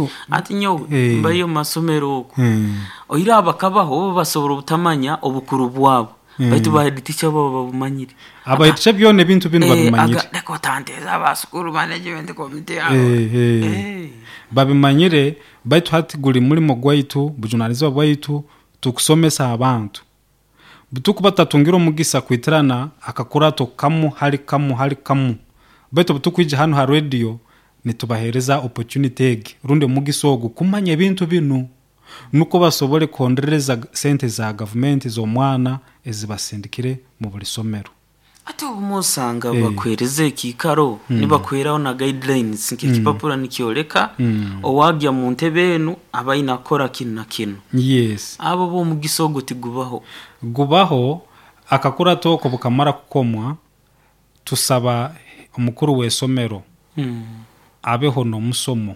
So Ati nyowe mbayo mu masomero oku, oire abakabaho bo basobora obutamanya obukuru bwabo, baitu ba head teacher bo babumanyire. Aba head teacher byona ebintu binu babimanyire. Leka otanteeza aba school management committee abo. Babimanyire, baitu hati guli mulimo gwaitu, bujunanizibwa bwaitu tukusomesa abantu. Butukuba tutatungire omugisa kwitirana akakurato kamu hali kamu hali kamu, baitu obutukwija hanu ha radio nitubaheereza opportunity egi rundi omugisa ogu kumanya ebintu binu, nukwo basobole kuhonderereza sente za gavumenti z'omwana ezibasindikire mu buli somero. Ati obumu osanga bakuheereza ekiikaro, nibakuheeraho na guidelines nk'ekipapura nikyoleka owagya mu ntebe enu aba aine kukora kinu na kinu. Abo bo omugisa ogwo tigubaho. Gubaho, akakurato oko bukamara kukomwa, tusaba omukuru w'isomero abeho n'omusomo.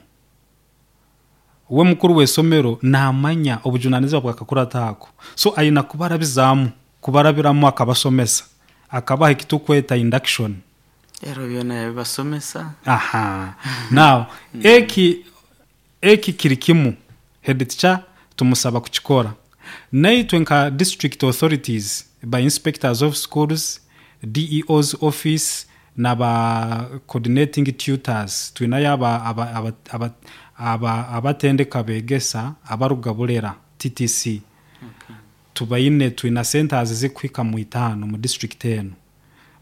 We mukuru w'isomero naamanya obujunanizibwa bw'akakurato ako, so aina kubarabizaamu, kubarabiramu akabasomesa, akabaha ekitukweta induction. Ero byona yabibasomesa. Aha. Now, eki kiri kimu, head teacher tumusaba kukikora. Naitwe nka district authorities, by inspectors of schools, DEO's office, n'aba coordinating tutors, twinayo abatendeka begesa abaruga Bulera, TTC. Tubaine, twina centers zikuhika mu 5 mu district enu.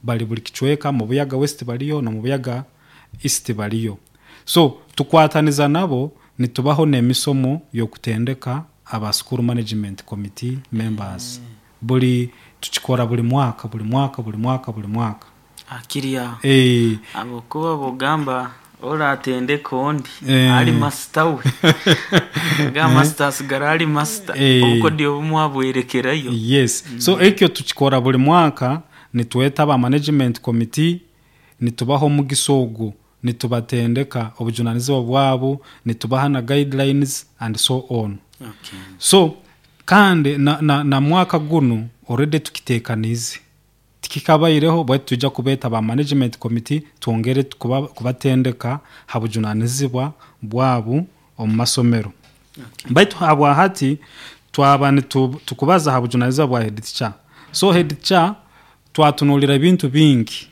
Bali buli kicweka, mu Buyaga West baliyo, na mu Buyaga East baliyo. So, tukwataniza nabo, nitubaho n'emisomo y'okutendeka aba school management committee members. Buli tukikora buli mwaka, buli mwaka, buli mwaka, buli mwaka. Akiri aho. Habwokuba bwogamba oratendeka ondi, ali master we. Gamba master asigara ali master. Obukodyo obumu abwerekerayo. Yes. So ekyo tukikora buli mwaka, nitweta aba management committee, nitubaha omugisa ogu, nitubatendeka obujunanizibwa bwabo, nitubaha na guidelines and so on. So kandi na mwaka gunu already tukitekaniize. Tikikabaireho, bwaitu twija kubeeta ba management committee twongere kubatendeka ha bujunanizibwa bwabo omu masomero. Baitu habwa hati twaba tukubaza ha bujunanizibwa bwa head teacher. So head teacher twatunulira ebintu bingi.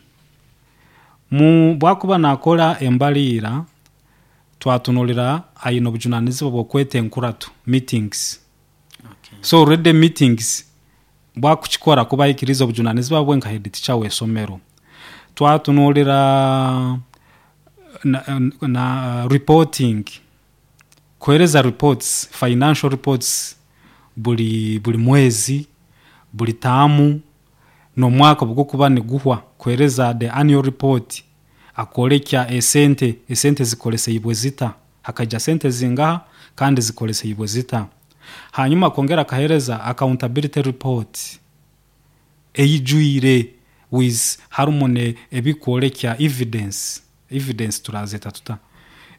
Mu bwakuba nakora embaliira, twatunulira aine obujunanizibwa bw'okweta enkurato, meetings. So already meetings bwakukikora kuba ahikiriize obujunanizibwa bwe nka head teacher w'isomero. Twatunulira na reporting, kuheereza reports, financial reports buli mwezi, buli taamu, n'omwaka obugukuba niguhwa, kuheereza the annual report, akorekya esente zikoleseibwe zita, hakaija sente zingaha kandi zikoleseibwe zita. Hanyuma akongera akaheereza accountability report eijwire with harumu ebikworekya evidence, evidence turazeta tuta?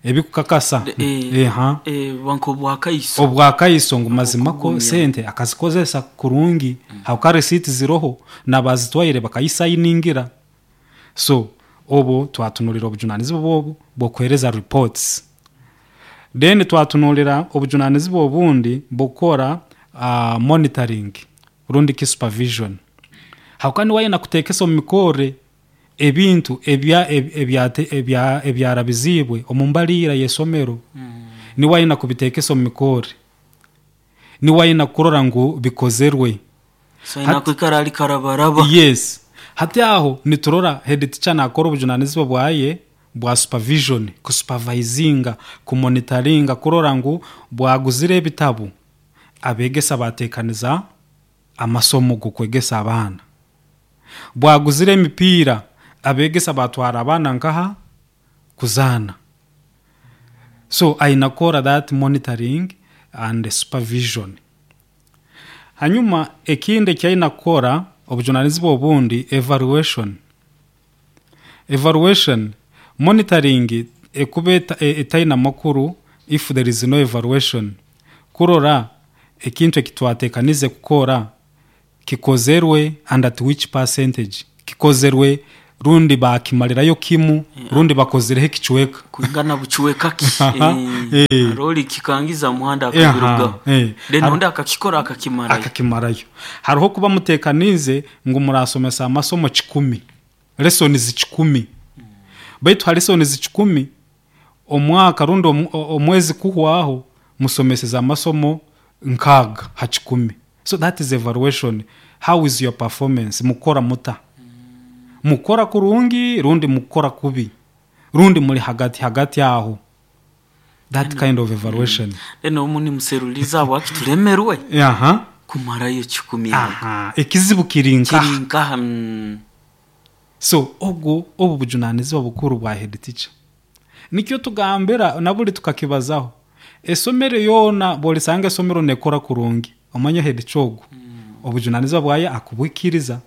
Ebikukakasa. Nk'obwakaiso. Obwakaiso ngu mazima ko sente akazikozesa kurungi, hauka receipt ziroho, n'abazitwaire bakayisayiningira. So obu twatunulira obujunanizibwa obu bw'okuheereza reports. Then twatunulira obujunanizibwa obundi bw'okukora monitoring rundi ki supervision. Hauka niwe aine kuteekesa omu mikorre ebintu ebyarabiziibwe omu mbaliira y'isomero. Niwe aine kubiteekesa omu mikorre. Niwe aine kurora ngu bikozerwe. So aine kwikara ali karabaraba. Yes. Hati aho niturora head teacher nakora obujunanizibwa bwaye bwa supervision, kusupervisinga, kumonitoringa, kurora ngu bwaguzire ebitabu, abegesa batekaniza amasomo g'okwegesa abaana. Bwaguzire emipiira, abegesa batwara abaana nkaha kuzaana. So aina kukora that monitoring and supervision. Hanyuma ekindi eki aina kukora, obujunanizibwa obundi, evaluation. Evaluation, monitoring ekuba etaina makuru if there is no evaluation. Kurora ekintu eki twatekanize kukora kikozerwe and at which percentage, kikozerwe Rundi bakimalirayo kimu, rundi bakozireho ekicweka. Kwingana bucweka ki? Aroli kikangiza muhanda akabirugaho. Then undi akakikora akakimarayo. Akakimarayo. Hariho kuba mutekanize ngu murasomesa amasomo 10, lessons 10. Baitu ha lessons 10 omwaka rundi omwezi kuhwaho musomeseza amasomo 6 ha 10. So that is evaluation. How is your performance? Mukora muta? Mukora kurungi rundi mukora kubi? Rundi muri hagati hagati aho. That kind of evaluation. Then omuni museruliza wakitulemerwe. Kumarayo 10. Ekizibu kirinka. Kirinka. So obwo obu bujunanizibwa bukuru bwa head teacher. Nikyo tugambira nabuli tukakibazaho. Esomero yona bolisanga esomero nekora kurungi. Omanya head chogo. Obujunanizibwa bwaye akubwikiriza,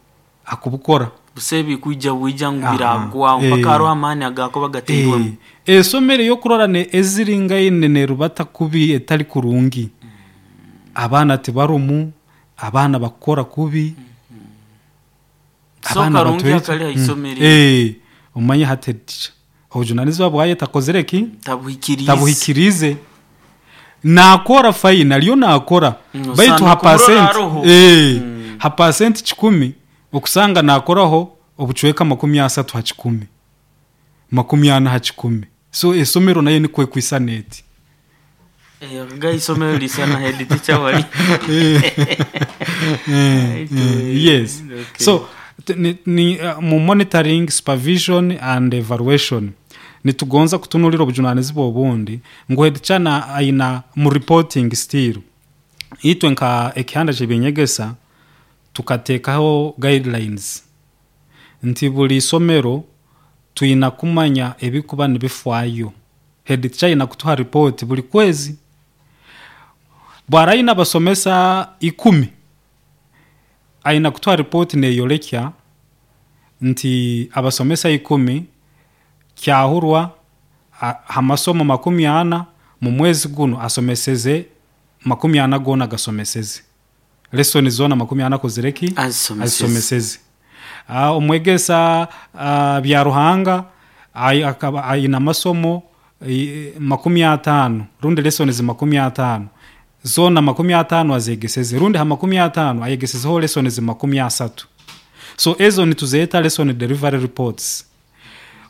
akubukora. Busebi kuija buija ngubiragwa mpaka aro amani agako bagateirwe. Esomero yokurora ne eziringaine ne rubata kubi etali kurungi. Abana tibarumu, abana bakora kubi. Abana batwe akali isomero. Omanye hate teacher. Obujunanizibwa bwaye takozereki? Tabuhikirize. Tabuhikirize. Nakora fine aliyo nakora. Baitu ha percent ha percent 10 okusanga nakoraho obucweka 30 ha 10. 40 ha 10. So esomero nayo nikwe kwisaneti. Ga isomero lisana head teacher wali. Yes. Okay. So ni mu monitoring, supervision and evaluation nitugonza kutunulira obujunanizibwa obundi ngu head teacher na aina mu reporting still itwe nka ekihanda kyebinyegesa tukatekaho guidelines nti buli somero tuina kumanya ebikuba nibifwayo. Head teacher ina kutuha report buli kwezi. Bwaraina basomesa 10 aina kutuha report neyolekya nti abasomesa 10 kyahurwa hamasomo 40 mu mwezi guno asomeseze 40 gona gasomeseze. Lesson zona 40 kozereki azisomeseze. Omwegesa bya Ruhanga aina masomo 50 rundi lesson zi 50 zona 50 azegeseze rundi ha 50 ayegesezeho lesson zi 30. So ezo nituzeeta lesson delivery reports.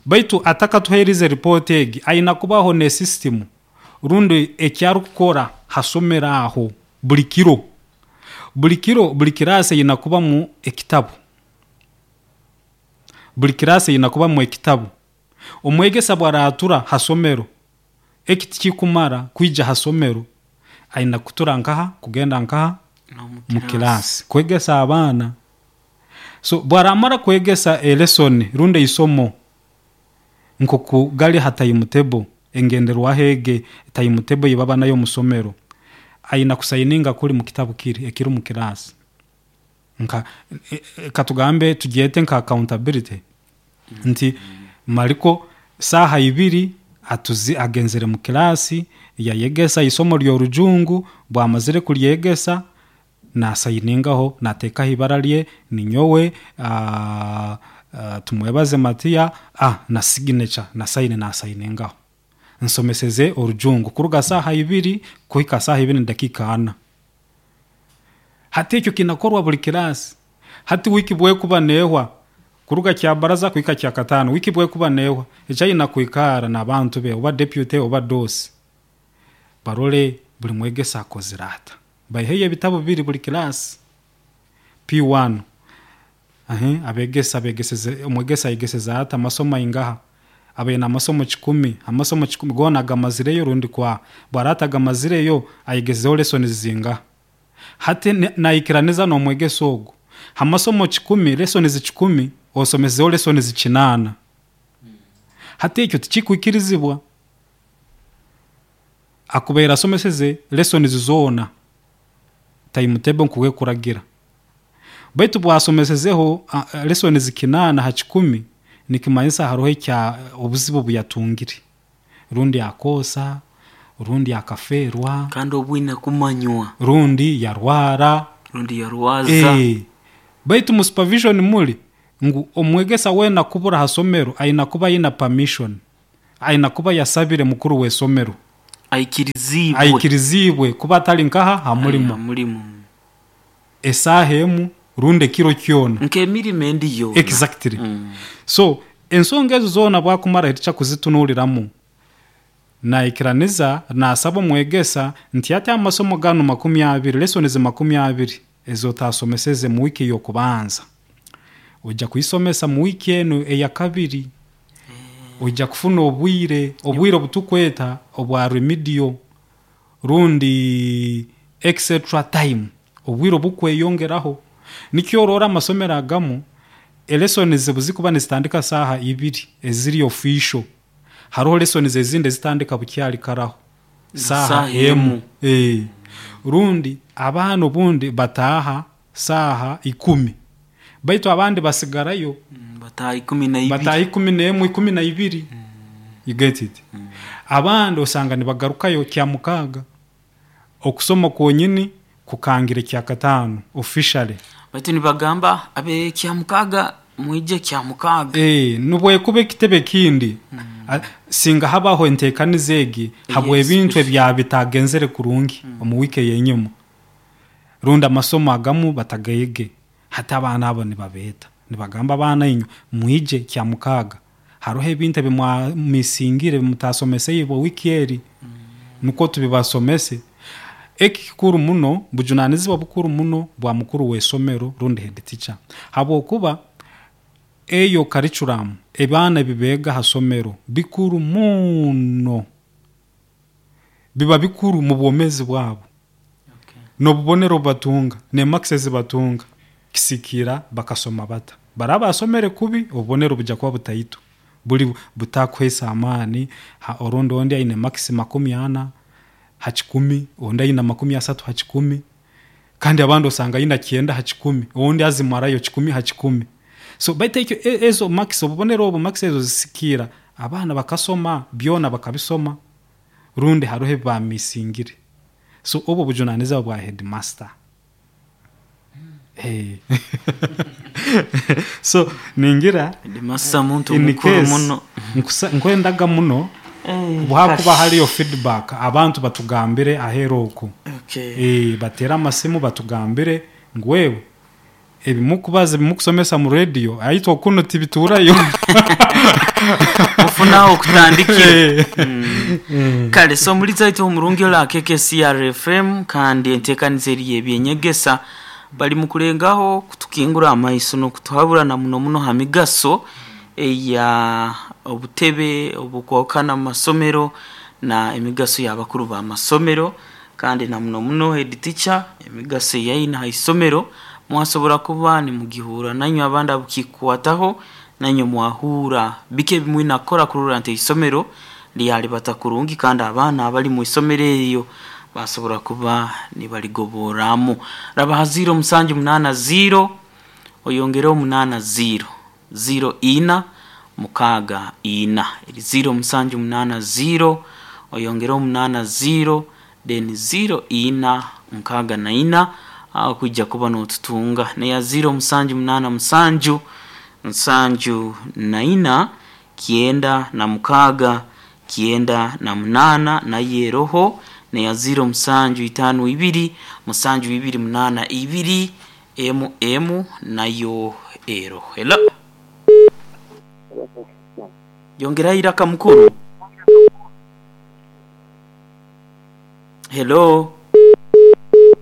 Baitu ataka tuhereze report egi aina kubaho ne system rundi ekyarukukora hasomera aho buli kiro. Buli kiro buli kirase ina kuba mu ekitabu. Buli kirase ina kuba mu ekitabu. Omwegesa bwaratura hasomero ekiti kikumara kuija hasomero aina kutura nkaha kugenda nkaha mu kirasi kwegesa abana. So bwaramara kwegesa lesson rundi isomo nkoku gali hatayimutebo engenderwa hege tayimutebo yibaba nayo musomero aina kusayininga kuli mu kitabu kiri ekiri mu kirasi. Nka katugambe tugiyete nka accountability. Nti mariko saha 2 atuzi agenzere mu kirasi yayegesa isomo ryo bwamazire kulyegesa na sayiningaho nateka ibara lye ninyowe tumwebaze Matiya na signature na sign na sayiningaho nsomeseze orujungu kuruga saha 2 kuhika saha 2 dakika 4. Hati ekyo kinakorwa buli kirasi. Hati wiki bwe kuba nehwa kuruga kya baraza kuhika kya katano wiki bwe kuba nehwa echayina kuikara na abantu be oba deputy oba dosi barole buli mwegesa akozirata bayiheye ebitabo bibiri buli kirasi P1. Abegesa begeseze omwegesa yegeseza ata amasomo ingaha abe na amasomo 10 amasomo 10 gona gamazireyo rundi kwa bwarata gamazireyo ayigezeho lesson zinga hati naikiraniza no mwegeso ogo amasomo 10 lesson 10 osomezeho lesson 8. Hati ekyo tikikwikirizibwa akubera someseze lesson zona timetable nkuwe kuragira. Baitu bwasomesezeho lesson 8 ha 10 nikimanyisa haroho ekya obuzibu buyatungire rundi akosa rundi akaferwa kandi obwine kumanywa rundi yarwara rundi yarwaza. Baitu mu supervision muri Ngu omwegesa weena kubura ha somero aina kuba aina permission, aina kuba yasabire mukuru w'esomero. Aikirizibwe. Aikirizibwe kuba atali nkaha ha mulimo. Mulimo. Esaaha emu rundi ekiro kyona. Nk'emirimo endi yoona. Exactly. So ensonga ezo zoona bwakumara heteacher kuzitunuliramu, naikiraniza nasaba omwegesa nti ati amasomo ganu 20, lessons 20 ezotasomeseze mu wiiki ey'okubanza, ojja kuisomesa mu wiiki enu eya kabiri. Ojja kufuna obwire obutukweta obwa remedial rundi extra time, obwire obukweyongeraho. Nikyo orora amasomero agamu elessons buzikuba nizitandika saaha 2 eziri official, haroho lessons ezindi ezitandika bukyali karaho saaha 1. Rundi abaana obundi bataaha saaha 10, baitu abandi basigarayo bataaha 12, bataaha 11, 12. You get it? Abandi osanga nibagarukayo kya mukaaga, okusoma kwonyini kukangire kya kataano officially. Baitu nibagamba abe kya mukaaga mwije kya mukaaga. Nubwekuba ekitebe kindi, singa habaho enteekaniza egi habw'ebintu ebyabitagenzere kurungi omu wiiki ey'enyuma, rundi amasomo agamu batagayege, hati abaana abo nibabeeta nibagamba abaana inywe mwije kya mukaaga, haroho ebintu ebimwamisingire ebimutasomeseibo wiiki eri, nukwo tubibasomese. Eki kikuru muno, bujunanizibwa bukuru muno bwa mukuru w'esomero rundi head teacher, habwokuba eyo curriculum ebaana ebibeega ha somero bikuru muno, biba bikuru mu bwomeezi bwabo. N'obubonero obubatunga n'emarks ezibatunga kisikira bakasoma bata. Baraba basomere kubi, obubonero bujja kuba butaito, buli butakuhaisa amaani. Orundi ondi aine marks 40 ha 100, ondi aine 30 ha 100, kandi abandi osanga aine 90 ha 100, ondi azimarayo 100 ha 100. So baitu ekyo ezo marks, obubonero obu, marks ezo zisikira abaana bakasoma byona bakabisoma, rundi haroho ebi bamisingire. So obu obujunanizibwa bwa headmaster. So ningira headmaster muntu mukuru muno. Nkwendaga muno bwakuba haliyo feedback, abantu batugambire aheeru oku. Bateere amasimu batugambire ngu wewe ebimukubaza ebimukusomesa mu radio aitwe okuno tibiturayo. Mufunaho okutandikira. Kale so muliza itu omurungi ola KKCR FM, kandi enteekaniza eri ebyenyegesa bali mukulengaho kutukingura amaiso n'okutuhabura na muno muno ha migaso eya obutebe obukwahukana mu masomero na emigaso y'abakuru b'amasomero, kandi na muno muno head teacher emigaso eyaina ha isomero mwasobora kuba nimugihura nanywe abandi abukikwataho nanywe mwahura bike ebimwina kukora kurora nti isomero lyalibata kurungi, kandi abaana abali mu isomero eryo basobora kuba nibaligoboramu. Raba ha 0 7 8 0 oyongereho 8 0 0 4 6 4, eri 0 7 8 0 oyongereho 8 0 then 0 4 6 4, aho kwijja kuba n'otutunga. Neya 0 7 8 7 7 4 9 6 98 nayo eroho. Neya 0 7 5 2 7 2 8 2 emu emu nayo eroho. Hello, yongeraho iraka mukuru. Hello,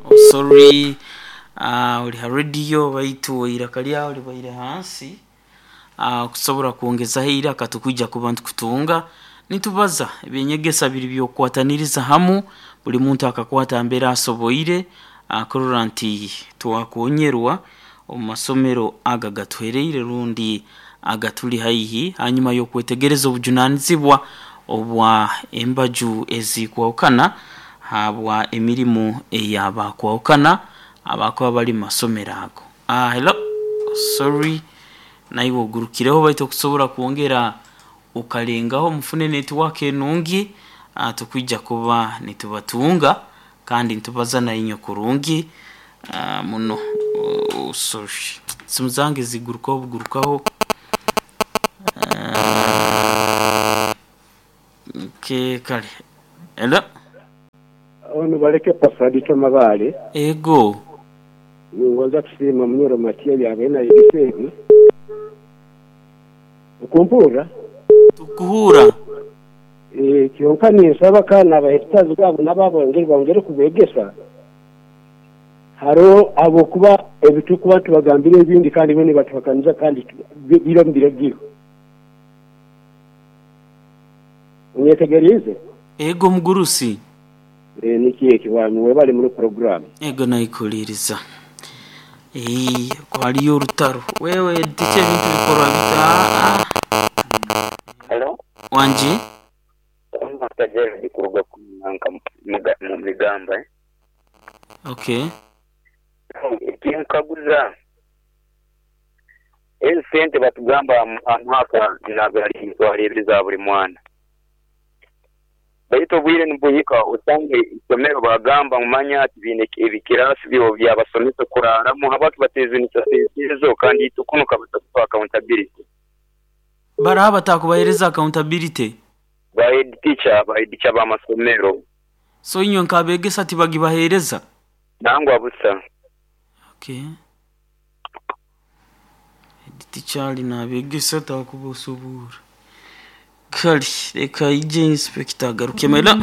oh sorry, oli ha radio baitu iraka lyawe libaire hansi. Kusobora kwongezaho iraka tukwija kuba ntukutunga. Nitubaza ebyenyegesa biri byokukwataniriza hamu, buli muntu akakwata mbere asoboire kurora nti twakonyerwa omu masomero aga gatuhereire rundi agatuli haihi, hanyuma y'okwetegereza obujunanizibwa obwa embaju ezikwahukana habwa emirimu eyabakwahukana abakuba bali mu masomero ago. Hello, sorry, naiwe ogurukireho baitu okusobora kwongera ukalengaho mufune network enungi, tukwija kuba nitubatunga kandi nitubaza nainywe kurungi muno. Oh, sorry. Simu zange zigurukaho bugurukaho. Okay, kale. Hello. Ono baleke Pastor Mabale. Ego. Ningonza kusiima Munyoro Matiya byabaire nayegesa ebi. Okumpurra? Tukuhura. Kyonka ninsaba kandi abahetazi babo n'ababongere bongere kubegesa. Hariho abokuba ebitukuba tubagambire ebindi kandi bene batuhakaniza kandi biro mbiragiro. Onyetegerize? Ego mugurusi. Niki eki webale muri program. Ego naikuliriza. Kwaliyo orutaro. Wewe tiche ebintu bikorwa bita. Hello. Wanji? Master Gerald kuruga mu migamba. Okay. Ekinkaguza ezi sente batugamba amwaka nabali mitwalo ebiri za buli mwana. Baitu obwire nibuhika osange isomero bagamba mumanya ati biine ebikirasi byo byabasomesa kuraramu habwaki batezunisa sente ezo kandi itukunuka batatupa accountability. Baraha batakubahereza accountability. Ba head teacher, ba head teacher b'amasomero. So inywe nkabegesa tibagibahereza? Nangwa busa. Okay. Head teacher ali nabegesa takubosubura. Kali reka ije inspector agaruke mela.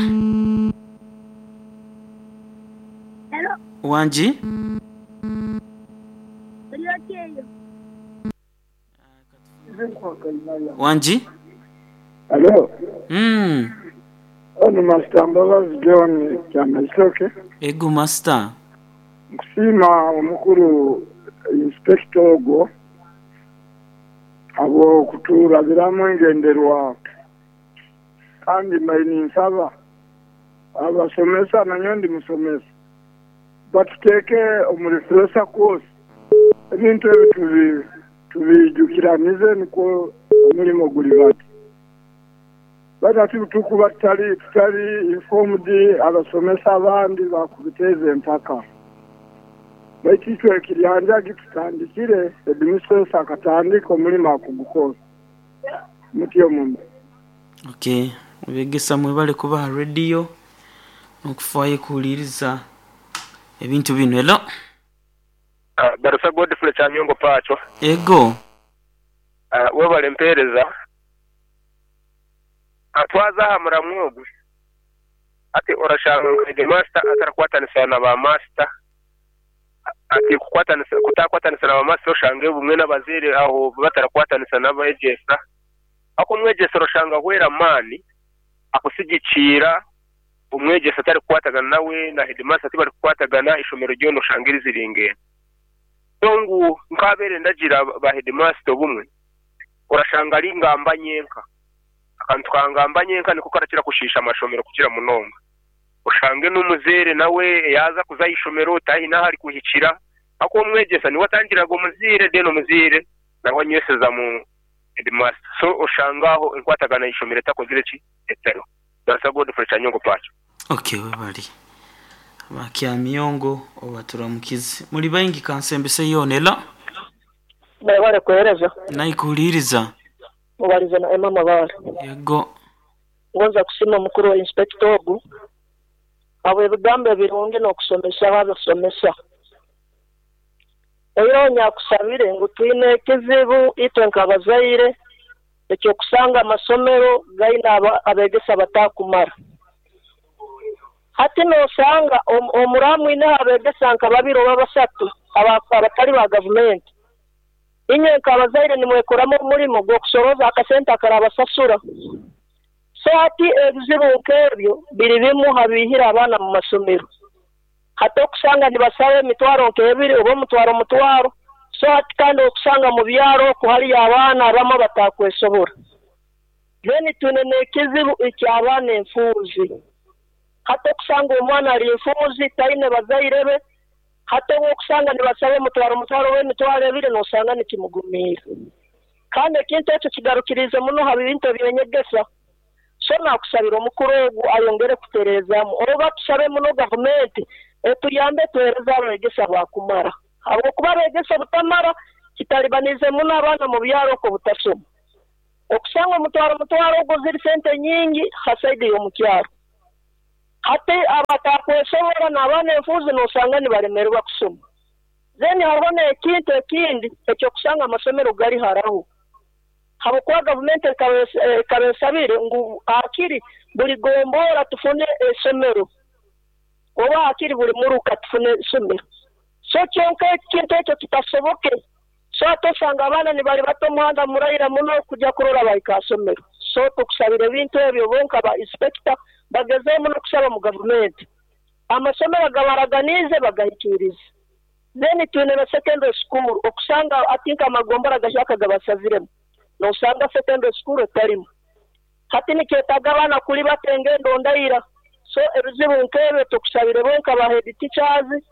Hello. Wanji? Wanji? Hello. Ono Master Mbabazi John Kyamasoke. Ego Master. Nkusiima omukuru inspector ogwo abo kuturabiramu engenderwa kandi mbaine nsaba abasomesa nanyo ndi musomesa batuteeke omu refresher course ebintu ebi tubijukiranize nikwo omulimo guli bati batatu tukuba tutali informed abasomesa abandi bakubiteza empaka baitu itwe ekiryanja gitutandikire headmistress akatandika omulimo akugukora mutyo muno. Okay, begesa mwebale kubaha radio n'okufaayo kuwuliriza ebintu bino. Hello. Barusa Godfrey Kyamyongo Pacho. Ego. Webale mpereza. Atwaza aha muramwogo. Ati orashanga headmaster atarakwatanisa na ba master. Ati kukwatanisa kutakwatanisa na ba master oshange bumwe n'abazire aho batarakwatanisa n'abegesa. Ako omwegesa orashanga hwera mani akusigikira omwegesa atari kukwatagana nawe na headmaster tibari kukwatagana ishomero ryono oshangiriza iringene. Tongu nkabere ndagira ba headmaster obumwe orashanga ari ngamba nyenka akantu kangamba nyenka niko karakira kushisha amashomero kukira munonga oshange n'umuzere nawe yaza kuza ishomero tahi nahari kuhikira ako omwegesa niwe atangiraga omuzire deno omuzire nawe anyweseza mu headmaster so oshangaho enkwatagana ishomero takozire ki etero. Darasa Godfrey Kyanyongo Pacho. Okay, webali Bakyamyongo obaturamukize muri baingi kansembese yonela bale kuhereza naikuliriza mubaliza na Emma Mabale. Yego. Ngonza kusima mukuru wa inspector ogu abo ebigambo ebirungi n'okusomesa abasomesa. Oyo nyakusabire ngu twine ekizibu itwe nk'abazaire ekyokusanga amasomero gaina abegesa batakumara. Hati nosanga omuramu ine abegesa nka babiri oba basatu abatali ba gavumenti. Inywe nk'abazaire nimwekoramu omurimo gw'okusoroza akasente akarabasasura. So hati ebizibu nk'ebyo biri bimu habihira abaana mu masomero. Hati okusanga nibasaba emitwaro nk'ebiri oba omutwaro. So hati kandi okusanga mu byaro kuhali abaana abamu batakwesobora. Then twine n'ekizibu eky'abaana enfuuzi. Hati okusanga omwana ali enfuuzi taine bazaire be. Hati okusanga nibasaba omutwaro w'emitwaro ebiri nosanga nikimugumiira. Kandi ekintu ekyo kigarukirize muno ha bintu ebyenyegesa. So nakusabira omukuru ogu ayongere kutereezamu oba tusabe muno gavumenti etuyambe tuhereze abegesa bakumara. Habwokuba abegesa butamara Kitalibanize muno abaana mu byaro okwo obutasoma. Okusanga omutwaro ogwo ziri sente nyingi ha saidi y'omu kyaro. Hati abatakwesobora n'abaana enfuuzi noosanga nibalemererwa kusoma. Then hariho n'ekintu ekindi eky'okusanga amasomero gali haraho. Habwokuba gavumenti ekaba esabire ngu hakiri buli gombora tufune esomero oba hakiri buli muruka tufune esomero. So kyonka ekintu ekyo kitasoboke. So hati osanga abaana nibalibata omuhanda muraira muno kujya kurora bahika ha somero. So tukusabira ebintu ebyo bonka ba inspector bagezeho muno kusaba mu gavumenti. Amasomero agabaraganiize bagahikiirize. Then twine na secondary school okusanga ati nk'amagombora gahyaka gabasaziremu noosanga secondary school etarimu. Hati nikyetaaga abaana kulibata engendo ndaira. So ebizibu nk'ebyo tukusabire bonka ba head teachers,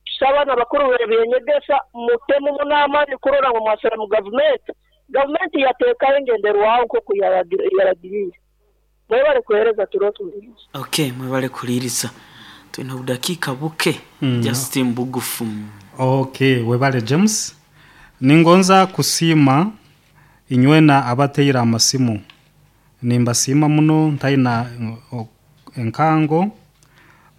tusaba n'abakuru b'ebyenyegesa mutemu muno amaani kurora ngu mwasaba mu gavumenti. Gavumenti yateekaho engenderwaho nk'oku yaragiriire. Mwebale kuheereza turo tuhuliiriza. Okay, mwebale kuhuliiriza. Twine obudakiika buke just mbugufu. Okay, webale James. Ningonza kusiima inywena abateire amasimu. Nimbasiima muno ntaina enkango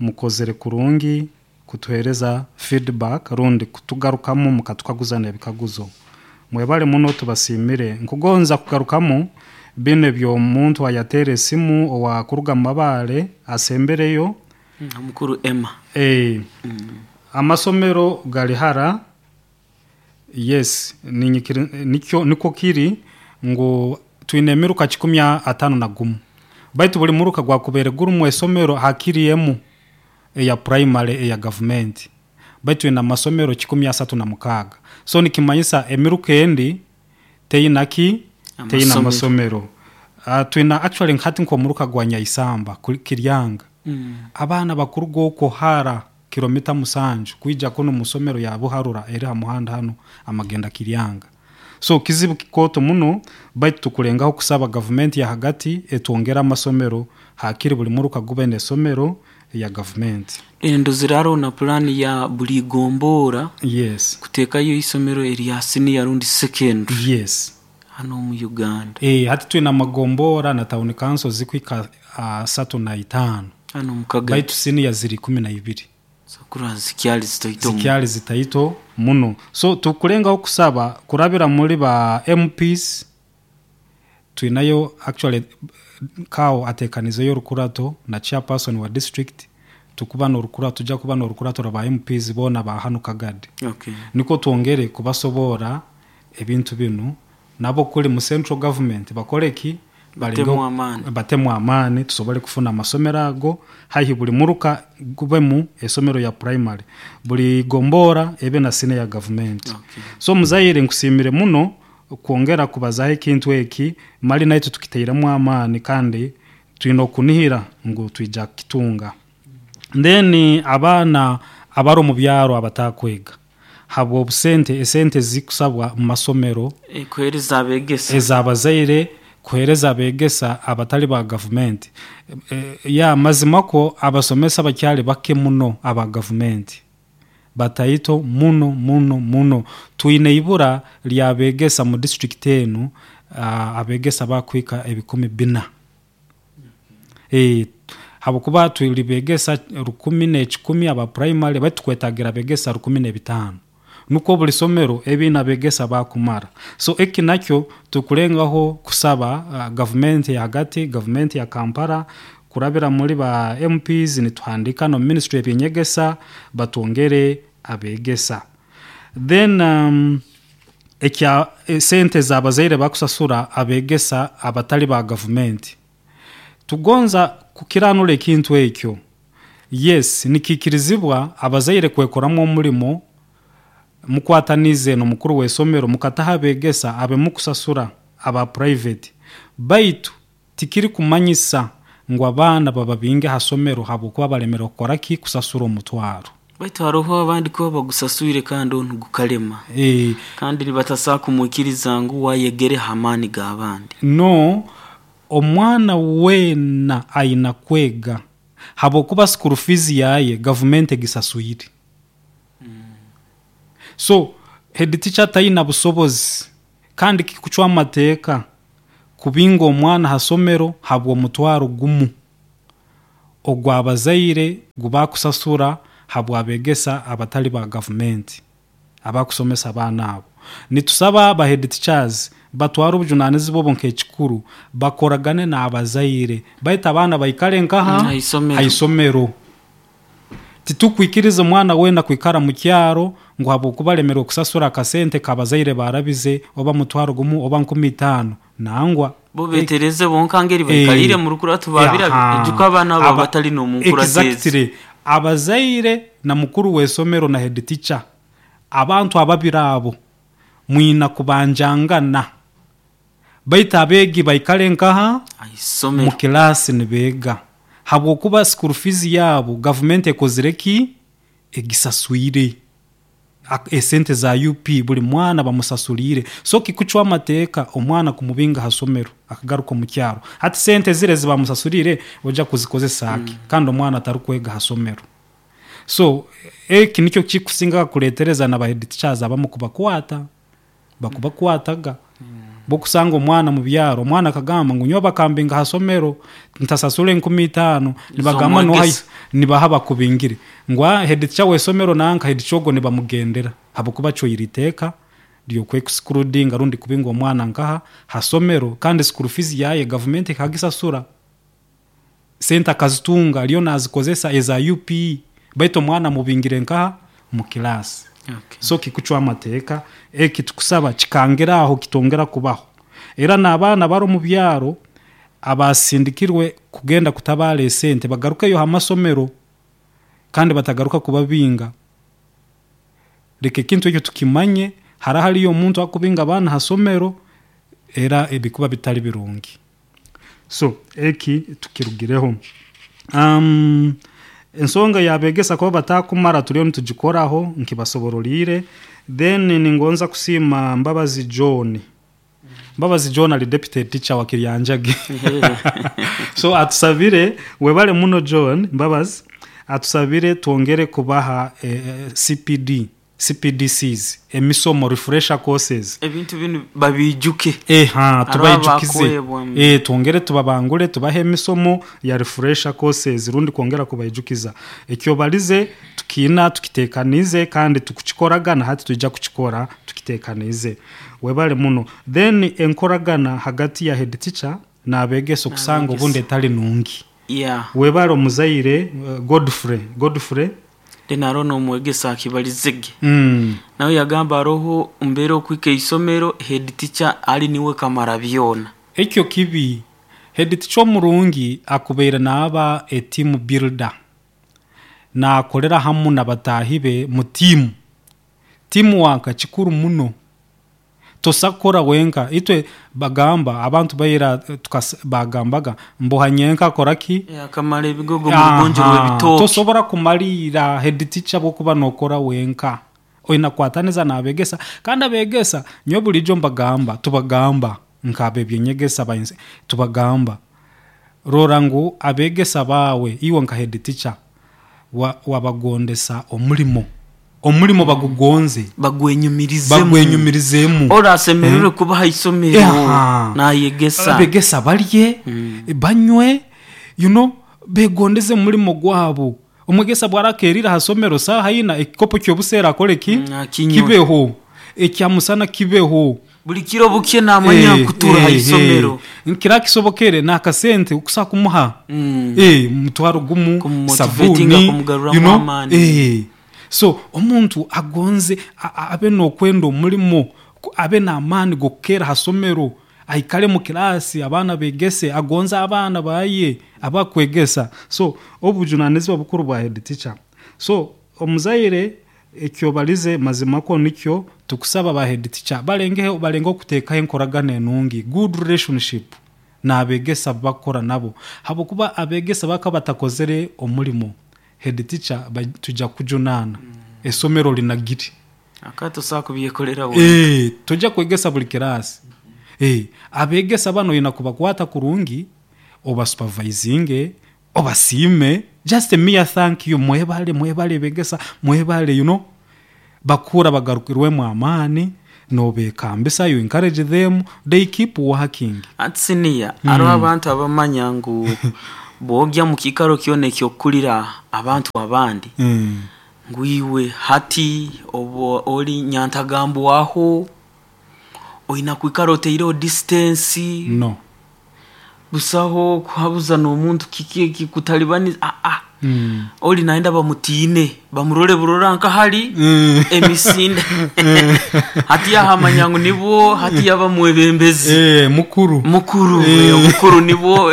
mukozere kurungi kutuheereza feedback rundi kutugarukamu mukatukaguza n'ebikaguzo. Mwebale muno tubasiimire. Nkugonza kugarukamu binu eby'omuntu ayateera esimu owakuruga Mabale asembereyo. Omukuru Emma. Amasomero gali hara. Yes, nikyo kiri ngu twine emiruka 51. Baitu buli muruka gwakubere gurimu esomero hakiri emu eya primary eya gavumenti. Baitu twine amasomero 136. So nikimanyisa emiruka endi teyina ki? Teyina amasomero. Twina actually hati nk'omuruka gwa Nyaisamba Kiryanga. Abaana bakuruga okwo hara kilomita 7 kwija kuno musomero ya Buharura eri ha muhanda hano amagenda Kiryanga. So kizibu kikooto muno, baitu tukulengaho kusaba gavumenti ya hagati etwongere amasomero hakiri buli muruka gube n'esomero ya gavumenti. Endoziraro na pulani ya buli gombora. Yes. Kuteekayo isomero erya senior rundi secondary. Yes. Hano mu Uganda. Hati twine amagombora na town council zikwika 35. Hano mu Kagadi. Baitu senior ziri 12. Sakura zikyali zitaito. Zikyali zitaito muno. So tukulengaho kusaba kurabira muri ba MPs twinayo actually kao atekanizeyo rukurato na chairperson wa district tukuba n'orukurato tujja kuba n'orukurato rwa MPs bona ba hano Kagadi. Okay. Niko twongere kubasobora ebintu binu nabo kuli mu central government bakoleki batemu amaani tusobole kufuna amasomero ago haihi buli muruka gubemu esomero ya primary buli gombora ebe na sine ya government. Okay. So muzaire nkusimire muno kwongera kubazaho ekintu eki mali naitu tukiteiremu amaani kandi twine okunihira ngu twija kitunga. Then abaana abari omu byaro abatakwega habwa obusente esente zikusabwa mu masomero kuhereza abegesa ezabazaire kuhereza abegesa abatali ba gavumenti. Ya mazima ko abasomesa bakyali bake muno aba gavumenti bataito muno muno muno. Twine ibura lyabegesa mu district enu abegesa bakwika 4,000. Habwokuba tulibegesa 1,100 aba primary baitu kwetagira begesa 1,500. Nuko buli somero ebina begesa bakumara. So eki nakyo tukulengaho kusaba gavumenti ya hagati, gavumenti ya Kampala kurabira muri ba MPs nituhandika no ministry ebyenyegesa batwongere abegesa. Then ekya sente zabazaire bakusasura abegesa abatali ba gavumenti. Tugonza kukiranura ekintu ekyo. Yes, nikikirizibwa abazaire kwekoramu omulimo mukwatanize no mukuru w'esomero mukataha abegesa abe mukusasura aba private. Baitu tikiri kumanyisa ngu abaana baba bingi ha somero habwokuba balemera kukora ki kusasura omutwaro. Baitu hariho abandi ko bagusasuire kandi onu gukalema. Kandi nibatasa kumwikiriza ngu wayegere hamani g'abandi. No, omwana wena aina kwega habwokuba school fees yaye government egisasuire. So Head teacher taina busobozi kandi kikucwa amateeka kubinga omwana ha somero habw'omutwaro gumu ogw'abazaire gubakusasura habw'abegesa abatali ba gavumenti abakusomesa abaana abo. Nitusaba ba head teachers batware obujunanizibwa obu nk'ekikuru, bakoragane n'abazaire baitu abaana baikale nkaha haisomero. Titukwikiriza omwana weena kwikara mu kyaro ngu habwokuba alemerwe kusasura akasente k'abazaire baarabize oba mutwaro gumu oba 5000 nangwa. Bo betereze bonka ngeri baikalire mu rukurato babira ejuka abaana abo batali n'omu nkurato ezi. Exactly. Abazaire na mukuru w'esomero na head teacher, abantu ababiri abo mwina kubanjangana baitu abeegi baikale nkaha mu kilaasi nibeega habwokuba school fees yaabo gavumenti ekozire ki? Egisaswire. Esente za UP buli mwana bamusasuliire. So kikucwa amateeka omwana kumubinga ha somero akagaruka omu kyaro. Hati sente ziri ezi bamusasuliire oja kuzikozesa ki kandi omwana atarukwega ha somero? So eki nikyo kikusingaga kuleetereza na ba head teachers abamu kubakwata, bakubakwataga. Bwokusanga omwana mu byaro, omwana akagamba ngu nyowe bakambinga ha somero ntasasura 5000, nibagamba noha nibaha bakubingire. Ngu head teacher w'esomero nanka head teacher ogwo nibamugendera habwokuba acwaire iteeka ly'okwexcludinga rundi kubinga omwana nkaha ha somero kandi school fees yaye gavumenti ekagisasura. Sente akazitunga ariyo nazikozesa eza UPE baitu omwana amubingire nkaha mu kilaasi. So kikucwa amateeka eki tukusaba kikangire aho kitongera kubaho. Era n'abaana abari omu byaro abasindikirwe kugenda kutabaara esente bagarukeyo ha masomero kandi batagaruka kubabinga. Leka ekintu ekyo tukimanye, hara hariyo omuntu akubinga abaana ha somero era ebikuba bitari birungi. So eki tukirugireho. Ensonga y'abegesa kuba batakumara turiyo nitugikoraho nkibasoboroliire. Then ningonza kusiima Mbabazi John. Mbabazi John ali deputy teacher wa Kiryanjage. So atusabire, webale muno John Mbabazi, atusabire twongere kubaha CPD, CPDCs, emisomo, refresher courses. Ebintu binu babiijuke. Tubaijukize. Twongere tubabangure, tubahe emisomo ya refresher courses rundi kwongera kubaijukiza. Ekyobalize tukiina tukitekanize kandi tukukikoraga na hati twija kukikora tukitekanize. Webale muno. Then enkoragana hagati ya head teacher n'abegesa okusanga obundi etali nungi. Webale omuzaire Godfrey. Godfrey. Then aroho n'omwegesa akibalizege. Nawe yagamba aroho mbere okwika isomero head teacher ali niwe kamara byona. Ekyo kibi. Head teacher omurungi akubaire naaba a team builder. Naakorera hamu na bataahi be mu tiimu. Teamwork kikuru muno. Tosa kukora wenka. Itwe bagamba abantu baira bagambaga mboha nyenka akora ki? Akamara ebigogo mu rugonjo rw'ebitooke. Tosobora kumalira head teacher bwokuba nokora wenka. Oina kukwataniza n'abegesa kandi abegesa nyowe bulijo mbagamba tubagamba nk'ab'ebyenyegesa tubagamba rora ngu abegesa baawe iwe nka head teacher wabagondesa omulimo. Omulimo bagugonze. Bagwenyumirizemu. Ora asemererwe kuba ha isomero nayegesa. Abegesa barye, banywe, you know, begondeze omulimo gwabo. Omwegesa bwarakerire ha somero saaha ina ekikopo ky'obuseera akore ki? Kibeho. Ekyamusana kibeho. Buli kiro bukye namanya kutura ha isomero. Nkira kisobokere n'akasente okusa kumuha. Mutwaro gumu, sabuni, you know. So omuntu agonze abe n'okwenda omulimo, abe n'amaani g'okukeera ha somero, aikale mu kilaasi abaana begese, agonze abaana baye abakwegesa. So obujunanizibwa bukuru bwa head teacher. So omuzaire ekyobalize mazima ko nikyo tukusaba ba head teacher balengeho balenge okuteekaho enkoragana enungi, good relationship n'abegesa bakora nabo. Habwokuba abegesa bakaba batakozere omulimo, head teacher tujja kujunaana esomero linagiri. Akatosa kubyekolera wenka. Tojja kwegesa buli kilaasi. Abegesa banu oina kubakwata kurungi, obasupervisinge, obasiime, just a mere thank you, mwebale, mwebale begesa, mwebale, you know. Bakura bagarukirwemu amaani, nobekambisa, you encourage them, they keep working. Ati siniya hariho abantu abamanya ngu bwogya mu kiikaro kyona ekyokukurira abantu abandi ngu iwe hati oba ori nyantagambwaho, oina kwikara oteireho distance. No. Busaho kuhabuza n'omuntu kiki ekikutalibaniza, aa ori nayenda bamutiine, bamurole burora nka hali emisinde. Hati yahamanya ngu nibwo hati yaba mwebembezi. Mukuru. Mukuru, omukuru nibwo.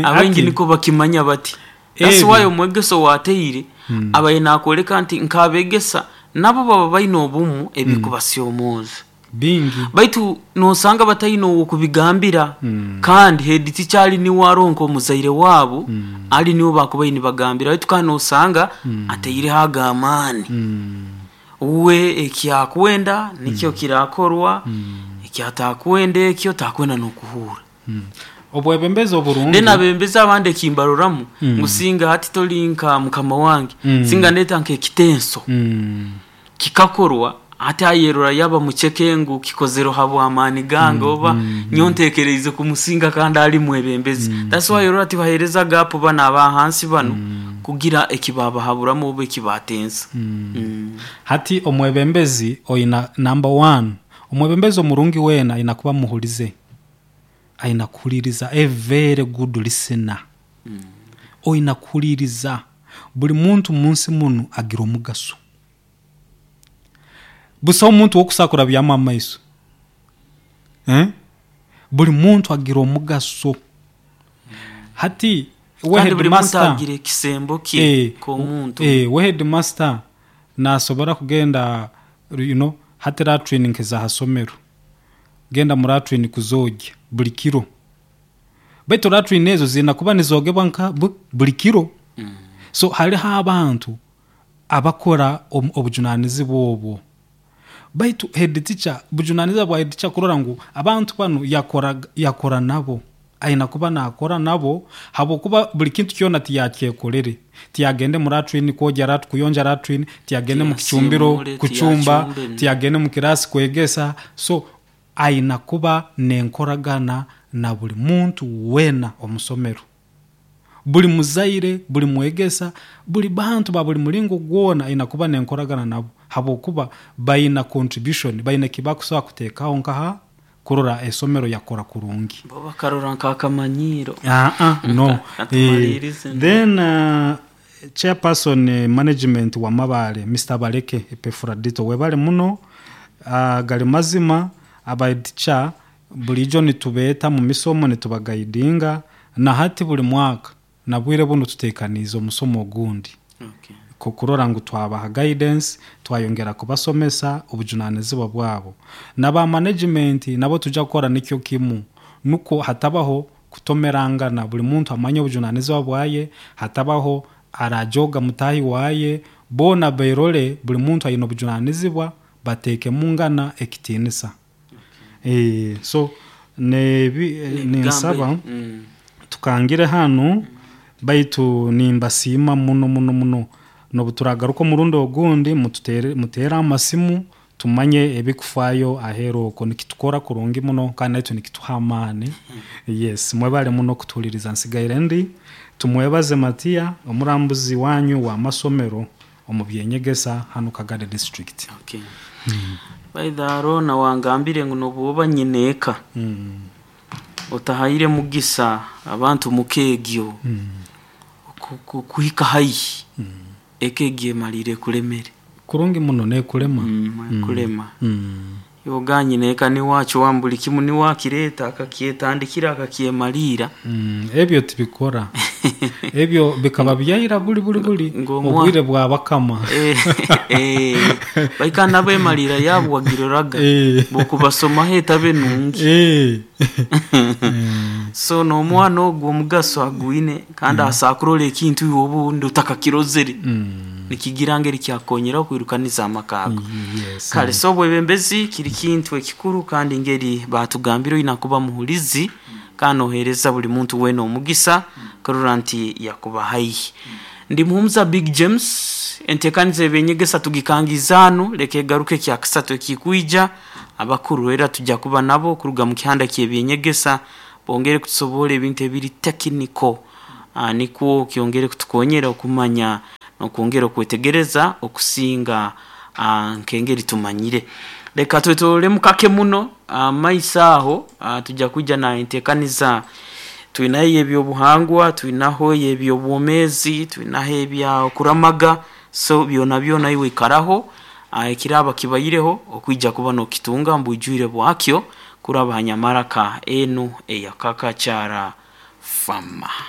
Abaingi niko bakimanya bati. That's why omwegesa owateire abaire nakwoleka nti nk'abegesa nabo baba baine obumu ebikubasyomooza. Bingi. Baitu nosanga bataine ow'okubigambira, kandi head teacher ali niwe aroho nk'omuzaire waabo, ali niwe bakubaire nibagambira, baitu kandi nosanga ataireho ag'amaani. Uwe ekyakwenda nikyo kirakorwa, ekyatakwenda ekyo takwenda n'okuhuura. Obwebembezi oburungi. Then abebembezi abandi ekimbaroramu ngu singa hati tori nka mukama wange, singa ndeeta nk'ekitenso kikakorwa, hati ayerora yaba muceke ngu kikozerwe habw'amaani gange oba nyowe ntekereize kumusinga kandi ali mwebembezi. That's why orora tibahereza gap banu aba hansi banu kugira ekibabahaburamu oba ekibatensa. Hati omwebembezi oina number one, omwebembezi omurungi weena aina kuba muhulize, aina kuhuliriza, a very good listener. Oina kuhuliriza, buli muntu munsi munu agira omugaso. Busaho omuntu ow'okusobola kurabyamu amaiso. Buli muntu agira omugaso. Hati we Kandi buli muntu headmaster, agira ekisembo kye nk'omuntu. We headmaster nasobora kugenda, you know, hati latrine nk'eza ha somero, genda mu latrine kuzoogya buli kiro. Baitu latrine ezo ziina kuba nizoogebwa nka buli kiro. So hariho abantu abakora obujunanizibwa obwo. Baitu head teacher, bujunanizibwa bwa head teacher kurora ngu abantu banu yakora nabo. Aina kuba nakora nabo habwokuba buli kintu kyona tiyakyekorere. Tiyagende mu latrine kwogya kuyonja latrine, tiyagende mu kicumbiro kucumba, tiyagende mu kirasi kwegesa. So aina kuba nenkoragana na buli muntu wena omusomero. Buli muzaire, buli mwegesa, buli bantu ba buli mulingo gwona aina kuba nenkoragana nabo habwokuba baina contribution, baina ekibakusobola kuteekaho nkaha kurora esomero yakora kurungi. Bo bakarora nk'akamanyiro. No. Katumalirize. Then chairperson management wa Mabale, Mr. Baleke Epefradito, webale muno, gali mazima aba teacher bulijo nitubeeta mu misomo nitubagaidinga, na hati buli mwaka na bwire buno tutekaniize omusomo ogundi. Kurora ngu twabaha guidance, twayongera kubasomesa obujunanizibwa bwabo. Naba management nabo tujja kukora nikyo kimu, nuko hatabaho kutomerangana, buli muntu amanye obujunanizibwa bwaye, hatabaho arajoga mutahi waye, bona berole buli muntu ayina obujunanizibwa, bateeke mungana ekitinisa. So ninsaba tukangire hanu, baitu nimbasiima muno muno muno. Nobu turagaruka omurundi ogundi, mutere amasimu tumanye ebikufayo aheeru okwo, nikitukora kurungi muno kandi naitwe nikituha amaani. Yes, mwebale muno kutuhuliriza. Nsigaire ndi tumwebaze Matiya, omurambuzi wanyu wa masomero omu byenyegesa hanu Kagadi district. Okay. Baitha Arona wangambire ngu nobu oba nyineeka otahaire mugisa abantu mukegyo kuhika haihi, eka egyo emalire ekulemere. Kurungi muno nekulema. Kulema. Yoga nyineeka niwacho buli kimu niwakireta akakyetandikira akakyemalira. Ebyo tibikora. Ebyo bikaba byaira buli buli buli obwire bwa bakama. Baika nabo emalira yabo wagiroraga. Bokubasoma etabe nungi. So n'omwana ogwo omugaso agwine kandi asakurora ekintu iwe obundi otakakirozere. Nikigira ngeri kyakonyera okwirukaniza amaka ago. Kale so obwebembezi kiri kintu ekikuru kandi ngeri batugambire oyina kuba muhulizi kandi ohereza buli muntu wena omugisa kurora nti yakuba haihi. Ndi Muhumuza Big James. Entekaniza ebyenyegesa tugikangizaanu, leka egaruke kyakasatu ekikwija. Abakuru era tujja kuba nabo kuruga mu kihanda ky'ebyenyegesa, bongere kutusoborra ebintu ebiri technical, nikwo kyongere kutukonyera okumanya n'okwongera okwetegereza okusinga nk'engeri tumanyire. Leka twetoroolemu kake muno maiso aho, tujja kwija na entekaniza twinayo ey'ebyobuhangwa, twinaho ey'ebyobwomeezi, twinaho ebya okuramaga, so byona byona iwe ikaraho, ekiraaba kibaireho okwija kuba nookitunga omu bwijwire bwakyo kuraba ha nyamaraka enu eya Kakachara Farmer.